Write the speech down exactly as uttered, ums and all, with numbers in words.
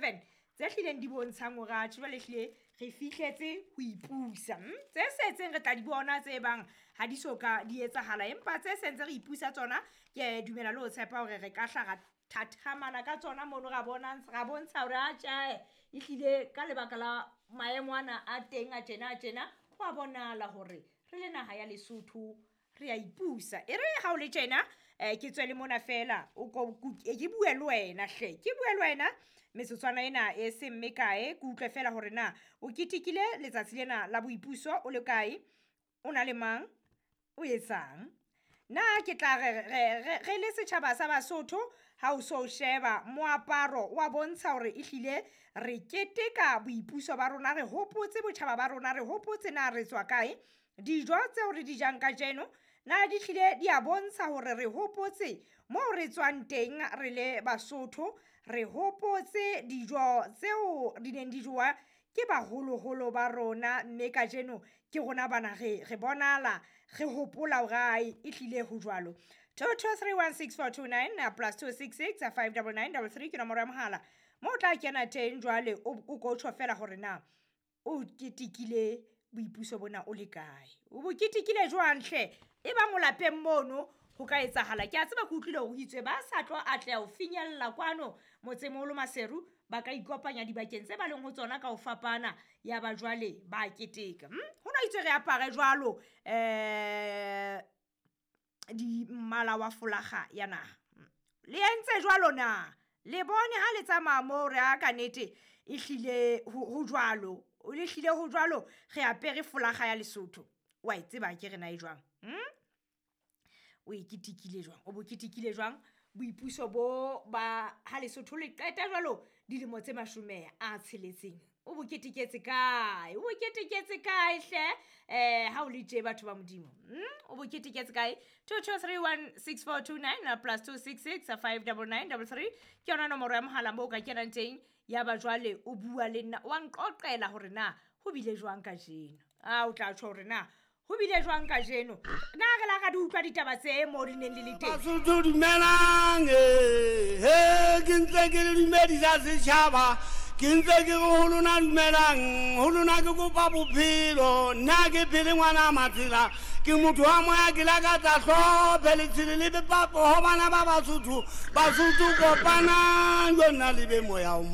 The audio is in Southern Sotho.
seven tse hlileng di bontshang hore atjhe jwale ehlile re fihletse ho ipusa. Mm? Tse setseng re tla di bona tse bang ha di so ka di etsahala, empa tse sentse re ipusa tsona ke dumela le ho tshepa hore re ka hla ra thathamana ka tsona mono, ra bona ra bontsha hore atjhe ehlile ka lebaka la maemo ana a teng a tjena a tjena, ho a bonahala hore re le naha ya Lesotho re a ipusa. E re ha o le tjena um ke tswe le mona fela, o ko ke bue le wena hle, ke bue le wena metsotswana ena e seng mekae, ke utlwe fela hore na o ketekile letsatsi lena la boipuso o le kae, o na le mang, o etsang. Na ke tla re re re le setjhaba sa Basotho, ha o so sheba moaparo wa bontsha hore ehlile re keteka boipuso ba rona, re hopotse botjhaba ba rona, re hopotse na re tswa kae. Dijo tseo re di jang kajeno na di hlile di a bontsha hore re hopotse moo re tswang teng re le Basotho, re hopotse dijo tseo di neng di jowa ke baholoholo ba rona, mme kajeno ke rona bana re re bonahala re hopola hore ae ehlile ho jwalo. two two three one six four two nine plus two six six five double nine double three ke nomoro ya mohala moo o tla kena teng jwale o ko tjho fela hore na o ketekile boipuso bona o le kae, o bo ketekile jwang hle. E bang o lapeng mono ho ka etsahala, ke a tseba ke utlwile hore ho itswe ba sa tlo atleha ho finyella kwano motsemoholo Maseru, ba ka ikopanya dibakeng tse ba leng ho tsona ka ho fapana, ya ba jwale ba keteka. Ho no itswe re apare jwalo um di mmala wa folaga ya naha. Le entse jwalo na? Le bone ha le tsamaya moo re a ka nnete ehlile ho jwalo, le hlile ho jwalo, re apere folaga ya Lesotho. Wa e tseba akere na e jwang? O e ketekile jwang, o bo ketekile jwang boipuso bo ba ha Lesotho le qeta jwalo dilemo tse mashome a tsheletseng, o bo keteketse kae, o bo keteketse kae hle um ha o le tje batho ba Modimo? O bo keteketse kae? two two three one six four two nine plus two six six five double nine double three ke yona nomoro ya mohala moo o ka kenang teng. Ya ba jwale o bua le nna, wa nqoqela hore na ho bile jwang kajeno. A o tla tjho hore na ho bile jwang kajeno. Na re la ra di utlwa ditaba tse mo di neng di le teng. Basotho dumelang, eh, ke ntse ke le dumedisa setjhaba, ke ntse ke re ho lona dumelang, ho lona ke kopa bophelo, nna ke phele ngwana Matsela, ke motho wa moya, ke lakatsa hlophe letshele le bepapo ho bana ba Basotho, Basotho kopanang, jonna le be moya o